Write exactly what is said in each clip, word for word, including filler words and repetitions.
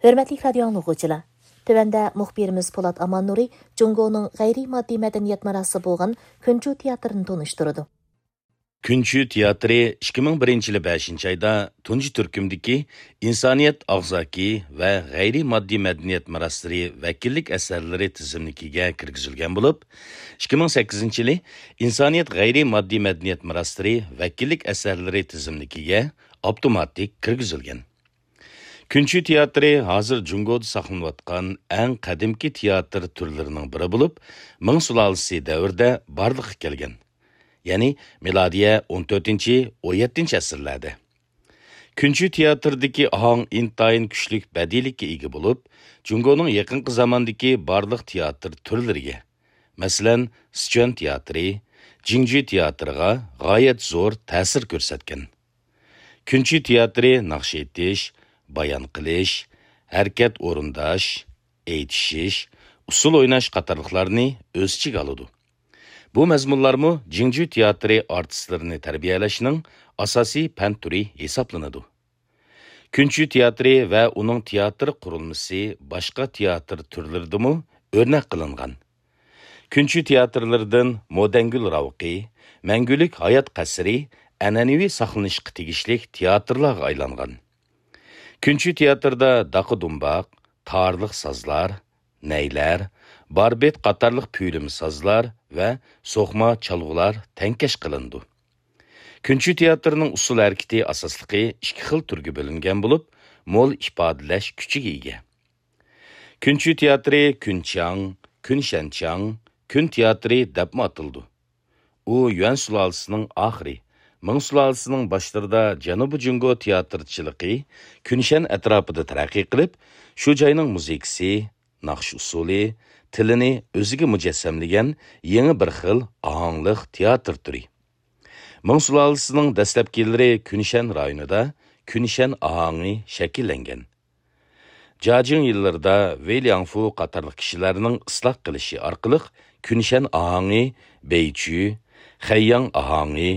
ھۆرمەتلىك رادىيو ئاڭلىغۇچىلار! تۆۋەندە مۇخبىرىمىز پولات ئاماننۇرى جۇڭگونىڭ غەيرىي ماددىي مەدەنىيەت مىراسى بولغان كۈنچۈ تىياتىرىنى تونۇشتۇرىدۇ. كۈنچۈ تىياتىرى ئىككى مىڭ بىرىنچى يىلى بەشىنچى ئايدا تۇنجى تۈركۈمدىكى ئىنسانىيەت ئاغزاكى ۋە غەيرىي ماددىي مەدەنىيەت مىراسلىرى ۋەكىللىك ئەسەرلىرى تىزىملىكىگە كىرگۈزۈلگەن بولۇپ، ئىككى مىڭ سەككىزىنچى يىلى ئىنسانىيەت غەيرىي ماددىي مەدەنىيەت مىراسلىرى ۋەكىللىك ئەسەرلىرى تىزىملىكىگە ئاپتوماتىك كىرگۈزۈلگەن. كۈنچۈ تىياتىرى ھازىر جۇڭگودا ساقلىنىۋاتقان ئەڭ قەدىمكى تىياتىر تۈرلىرىنىڭ بىرى بولۇپ، مىڭ سۇلالىسى دەۋرىدە بارلىققا كەلگەن. يەنى مىلادىيە ئون تۆتىنچى، ئون يەتتىنچى ئەسىرلەردە. كۈنچۈ تىياتىرىدىكى ئاھاڭ ئىنتايىن كۈچلۈك بەدىئىيلىككە ئىگە بولۇپ، جۇڭگونىڭ يېقىنقى زاماندىكى بارلىق تىياتىر تۈرلىرىگە، مەسىلەن، سىچۈەن تىياتىرى، جىڭجۈ تىياتىرىغا غايەت زور تەسىر كۆرسەتكەن. كۈنچۈ تىياتىرى ناخشا ئېيتىش، بايان قىلىش، ھەرىكەت ئورۇنداش، ئېيتىشىش، ئۇسسۇل ئويناش قاتارلىقلارنى ئۆز ئىچىگە ئالىدۇ. بۇ مەزمۇنلارمۇ جىڭجۈ تىياتىرى ئارتىسلىرىنى تەربىيەلەشنىڭ ئاساسىي پەن تۈرى ھېسابلىنىدۇ. كۈنچۈ تىياتىرى ۋە ئۇنىڭ تىياتىر قۇرۇلمىسى باشقا تىياتىر تۈرلىرىدىمۇ ئۆرنەك قىلىنغان. كۈنچۈ تىياتىرلىرىدىن مودەنگۈل راۋىقى، مەڭگۈلۈك ھايات قەسرى ئەنئەنىۋى ساقلىنىشقا تېگىشلىك تىياتىرلارغا ئايلانغان. كۈنچۈ تىياتىرىدا داقا-دۇمباق، تارلىق سازلار، نەيلەر، باربىت قاتارلىق پۈيلىمە سازلار ۋە سوقما چالغۇلار تەڭكەش قىلىنىدۇ. كۈنچۈ تىياتىرىنىڭ ئۇسسۇل ھەرىكىتى ئاساسلىقى ئىككى خىل تۈرگە بۆلۈنگەن بولۇپ، مول ئىپادىلەش كۈچىگە ئىگە. كۈنچۈ تىياتىرى كۈنچياڭ، كۈنشەنچياڭ، كۈن تىياتىرى دەپمۇ ئاتىلىدۇ. ئۇ يۈەن سۇلالىسىنىڭ ئاخىرى، مىڭ سۇلالىسىنىڭ باشلىرىدا جەنۇبىي جۇڭگو تىياتىرچىلىقى كۈنشەن ئەتراپىدا تەرەققىي قىلىپ، شۇ جاينىڭ مۇزىكىسى، ناخشا ئۇسسۇلى، تىلىنى ئۆزىگە مۇجەسسەملىگەن يېڭى بىر خىل ئاھاڭلىق تىياتىر تۈرى. مىڭ سۇلالىسىنىڭ دەسلەپكى يىللىرى كۈنشەن رايونىدا كۈنشەن ئاھاڭى شەكىللەنگەن. جاجىڭ يىللىرىدا ۋېي لياڭفۇ قاتارلىق كىشىلەرنىڭ ئىسلاھ قىلىشى ئارقىلىق كۈنشەن ئاھاڭى بېيچۈ، خەيياڭ ئاھاڭى،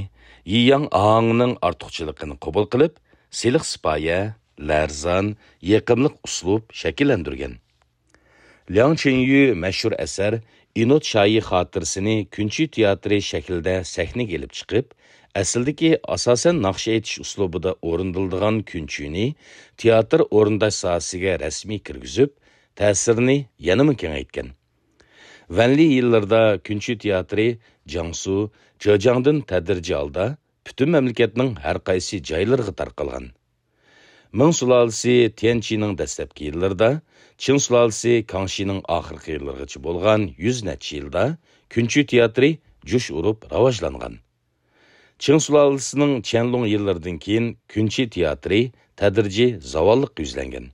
يىياڭ ئاھاڭىنىڭ ئارتۇقچىلىقىنى قوبۇل قىلىپ، سىلىق سىپايە، لەرزان، يېقىملىق ئۇسلۇب شەكىللەندۈرگەن. لياڭ چىنيۈ مەشھۇر ئەسەر ئىنوت شايى خاتىرىسىنى كۈنچۈ تىياتىرى شەكلىدە سەھنىگە ئېلىپ چىقىپ، ئەسلىدىكى ئاساسەن ناخشا ئېيتىش ئۇسلۇبىدا ئورۇندىلىدىغان كۈنچۈنى تىياتىر ئورۇنداش ساھەسىگە رەسمىي كىرگۈزۈپ، تەسىرىنى يەنىمۇ كېڭەيتكەن. ۋەنلى يىللىرىدا كۈنچۈ تىياتىرى جياڭسۇ، جېجياڭدىن تەدرىجىي ھالدا پۈتۈن مەملىكەتنىڭ ھەر قايسى جايلىرىغا تارقالغان. مىڭ سۇلالىسى تيەنچىنىڭ دەسلەپكى يىللىرىدا، چىڭ سۇلالىسى كاڭشىنىڭ ئاخىرقى يىللىرىغىچە بولغان يۈز نەچچە يىلدا كۈنچۈ تىياتىرى جۇش ئۇرۇپ راۋاجلانغان. چىڭ سۇلالىسىنىڭ چيەنلۇڭ يىللىرىدىن كېيىن كۈنچۈ تىياتىرى تەدرىجىي زاۋاللىققا يۈزلەنگەن.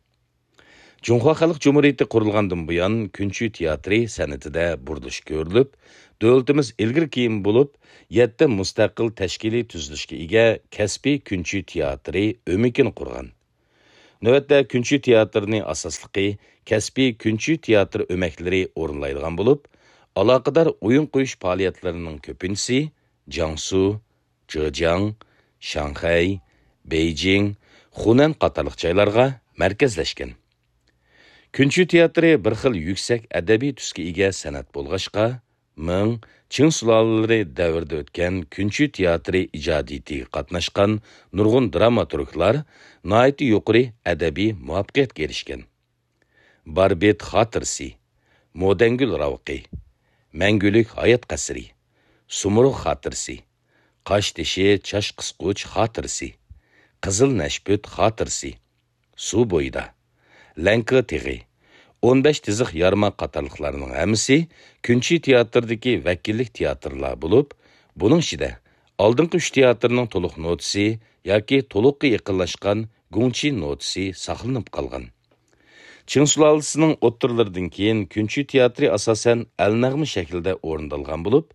جۇڭخۇا خەلق جۇمھۇرىيىتى قۇرۇلغاندىن بۇيان، كۈنچۈ تىياتىرى سەنئىتىدە بۇرۇلۇش كۆرۈلۈپ، دۆلىتىمىز ئىلگىرى كېيىن بولۇپ، يەتتە مۇستەقىل تەشكىلىي تۈزۈلۈشكە ئىگە كەسپىي كۈنچۈ تىياتىرى ئۆمىكىنى قۇرغان. نۆۋەتتە كۈنچۈ تىياتىرىنى ئاساسلىقى كەسپىي كۈنچۈ تىياتىر ئۆمەكلىرى ئورۇنلايدىغان بولۇپ، ئالاقىدار ئويۇن قويۇش پائالىيەتلىرىنىڭ كۆپىنچىسى جياڭسۇ، جېجياڭ، شاڭخەي، بېيجىڭ، خۇنەن قاتارلىق جايلارغا مەركەزلەشكەن. كۈنچۈ تىياتىرى بىر خىل يۈكسەك ئەدەبىي تۈسكە ئىگە سەنئەت بولغاچقا، مىڭ، چىڭ سۇلالىلىرى دەۋرىدە ئۆتكەن كۈنچۈ تىياتىرى ئىجادىيىتىگە قاتناشقان نۇرغۇن دراماتورگلار ناھايىتى يۇقىرى ئەدەبىي مۇۋەپپەقىيەتكە ئېرىشكەن. باربىت خاتىرىسى، مودەنگۈل راۋىقى، مەڭگۈلۈك ھايات قەسرى، سۇمۇرغ خاتىرىسى، قاشتېشى چاچ قىسقۇچ خاتىرىسى، قىزىل نەشپۈت خاتىرىسى، سۇ بويىدا، لەڭكا تېغى، ئون بەش تىزىق يارما قاتارلىقلارنىڭ ھەممىسى كۈنچى تىياتىرىدىكى ۋەكىللىك تىياتىرلار بولۇپ، بۇنىڭ ئىچىدە ئالدىنقى ئۈچ تىياتىرنىڭ تولۇق نوتىسى ياكى تولۇققا يېقىنلاشقان گۇڭچى نوتىسى ساقلىنىپ قالغان. چىڭ سۇلالىسىنىڭ ئوتتۇرىلىرىدىن كېيىن كۈنچى تىياتىرى ئاساسەن ئەلنەغمە شەكلىدە ئورۇندالغان بولۇپ،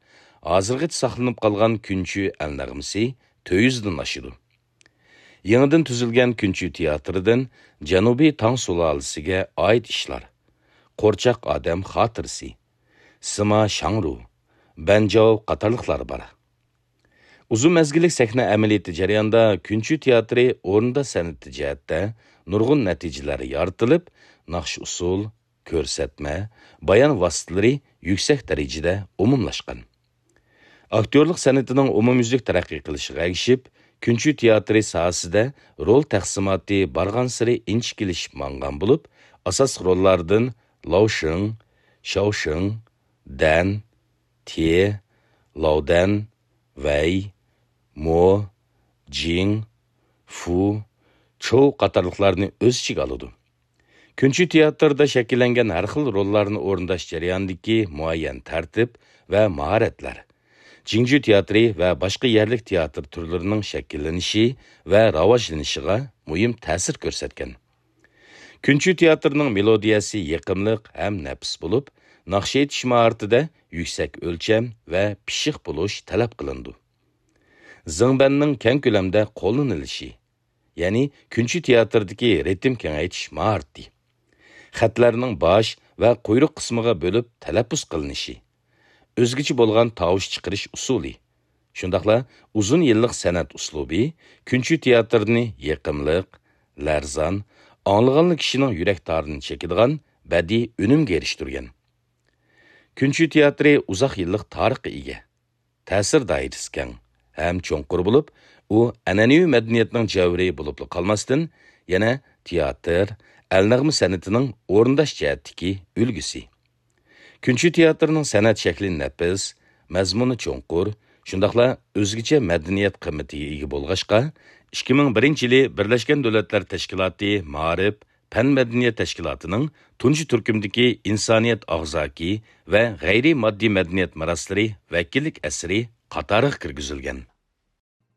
ھازىرغىچە ساقلىنىپ قالغان كۈنچى ئەلنەغمىسى تۆت يۈزدىن ئاشىدۇ. يېڭىدىن تۈزۈلگەن كۈنچى تىياتىرىدىن جەنۇبىي تاڭ سۇلالىسىگە ئائىت ئىشلار، قورچاق ئادەم خاتىرىسى، سىما شاڭرۇ، بەنجاۋ قاتارلىقلار بار. ئۇزۇن مەزگىللىك سەھنە ئەمەلىيىتى جەريانىدا كۈنچى تىياتىرى ئورۇندا سەنئىتى جەھەتتە نۇرغۇن نەتىجىلەر يارىتىلىپ، ناخشا-ئۇسسۇل، كۆرسەتمە، بايان ۋاسىتىلىرى يۈكسەك دەرىجىدە ئومۇملاشقان. ئاكتيورلۇق سەنئىتىنىڭ ئومۇميۈزلۈك تەرەققىي قىلىشىغا ئەگىشىپ، كۈنچى تىياتىرى ساھەسىدە رول تەقسىماتى بارغانسېرى ئىنچىكىلىشىپ ماڭغان بولۇپ، ئاساسلىق روللاردىن لاۋ شېڭ، شاۋ شېڭ، دەن، تې، لاۋ دەن، ۋەي، مو، جىڭ، فۇ، چوۋ قاتارلىقلارنى ئۆز ئىچىگە ئالىدۇ. كۈنچى تىياتىرىدا شەكىللەنگەن ھەر خىل روللارنى ئورۇنداش جەريانىدىكى مۇئەييەن تەرتىپ ۋە ماھارەتلەر جىڭجۈ تىياتىرى ۋە باشقا يەرلىك تىياتىر تۈرلىرىنىڭ شەكىللىنىشى ۋە راۋاجلىنىشىغا مۇھىم تەسىر كۆرسەتكەن. كۈنچى تىياتىرىنىڭ مېلودىيەسى يېقىملىق ھەم نەپىس بولۇپ، ناخشا ئېيتىش ماھارىتىدە يۈكسەك ئۆلچەم ۋە پىششىق بولۇش تەلەپ قىلىنىدۇ. زېڭبەننىڭ كەڭ كۆلەمدە قوللىنىلىشى، يەنى كۈنچى تىياتىرىدىكى رىتىم كېڭەيتىش ماھارىتى، خەتلەرنىڭ باش ۋە قۇيرۇق قىسمىغا بۆلۈپ تەلەپپۇز قىلىنىشى، ئۆزگىچە بولغان تاۋۇش چىقىرىش ئۇسۇلى، شۇنداقلا ئۇزۇن يىللىق سەنئەت ئۇسلۇبى كۈنچى تىياتىرىنى يېقىملىق، لەرزان، ئاڭلىغانلا كىشىنىڭ يۈرەك تارىنى چېكىدىغان بەدىئىي ئۈنۈمگە ئېرىشتۈرگەن. كۈنچى تىياتىرى ئۇزاق يىللىق تارىخقا ئىگە، تەسىر دائىرىسى كەڭ ھەم چوڭقۇر بولۇپ، ئۇ ئەنئەنىۋى مەدەنىيەتنىڭ جەۋھىرى بولۇپلا قالماستىن، يەنە تىياتىر، ئەلنەغمە سەنئىتىنىڭ ئورۇنداش جەھەتتىكى ئۈلگىسى. كۈنچى تىياتىرىنىڭ سەنئەت شەكلى نەپىس، مەزمۇنى چوڭقۇر، شۇنداقلا ئۆزگىچە مەدەنىيەت قىممىتىگە ئىگە بولغاچقا، ئىككى مىڭ بىرىنچى يىلى بىرلەشكەن دۆلەتلەر تەشكىلاتى مائارىپ، پەن مەدەنىيەت تەشكىلاتىنىڭ تۇنجى تۈركۈمدىكى ئىنسانىيەت ئاغزاكى ۋە غەيرىي ماددىي مەدەنىيەت مىراسلىرى ۋەكىللىك ئەسىرى قاتارىغا كىرگۈزۈلگەن.